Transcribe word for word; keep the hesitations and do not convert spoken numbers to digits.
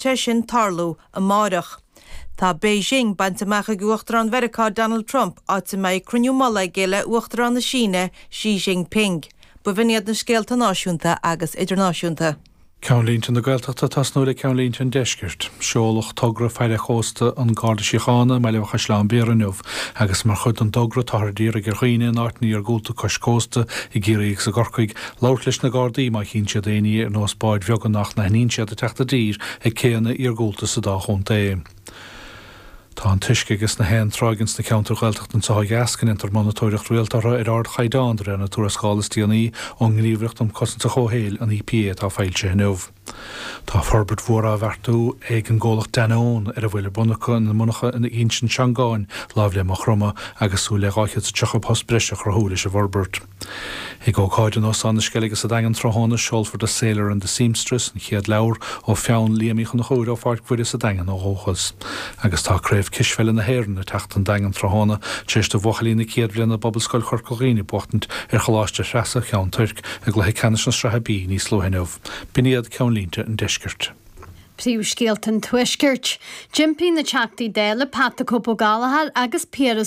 sé sin tarlú amárach. Tá Beijing bainte amach ag Uachtarán Mheiriceá Donald Trump áit a mbeidh cruinniú mullaigh aige le Uachtarán na Síne Xi Jinping. B'in iad na scéalta náisiúnta agus idirnáisiúnta. Ceannlínte na Gaeltachta tosnú le ceannlínte an deiscirt. Seoladh togra faire chósta an Garda Síochána Baile Chaisleán Bhéarra inniu, agus mar chuid den togra táthar ag iarraidh ar dhaoine in áiteanna iargúlta cois cósta i gCiarraí agus i gCorcaigh labhairt leis na Gardaí má chíonn siad aon ní ar nós báid bheaga nach n-aithníonn siad ag teacht i dtír ag céanna iargúlta sa dá chontae. Tá an t-uisce agus na héin tráigh ins na ceantair Ghaeltachta anseo ó dheas go ndéantar monatóireacht rialta orthu ar ardchaighdeán de réir na tuarascála is déanaí ón nGníomhaireacht um Chosaint an Chomhshaoil an EPA atá foilsithe inniu. Tá forbairt mhór á bheartú ag an gcomhlacht Danone ar a bhfuil bunachar na monarcha in Inse Seangáin láimh le Maigh Chromtha agus súil le dhá chéad is tríocha post breise a chruthú leis an bhforbairt. Ag ócáid in Óstán na Sceilge sa Daingean tráthnóna seolfar The Sailor and the Seamstress an chéad leabhar ó pheann Liam Uí Chonchúir ó Pháirc Mhuire sa Daingean ó dhúchas. Agus tá craobh cispheile na hÉireann ag teacht an Daingean tráthnóna tar éis do bhuachaillí na céad bhliana Pobalscoil Chorca Dhuibhne buachtaint ar Choláiste Threasa Cheann Tuirc i gcluiche ceannais na sraithe B níos luaithe inniu. B'in iad ceannlínte an deiscirt. Príomhscéalta an tuaiscirt. D'impigh na Teachtaí Dála Pat the Cope Ó Gallchóir agus Piaras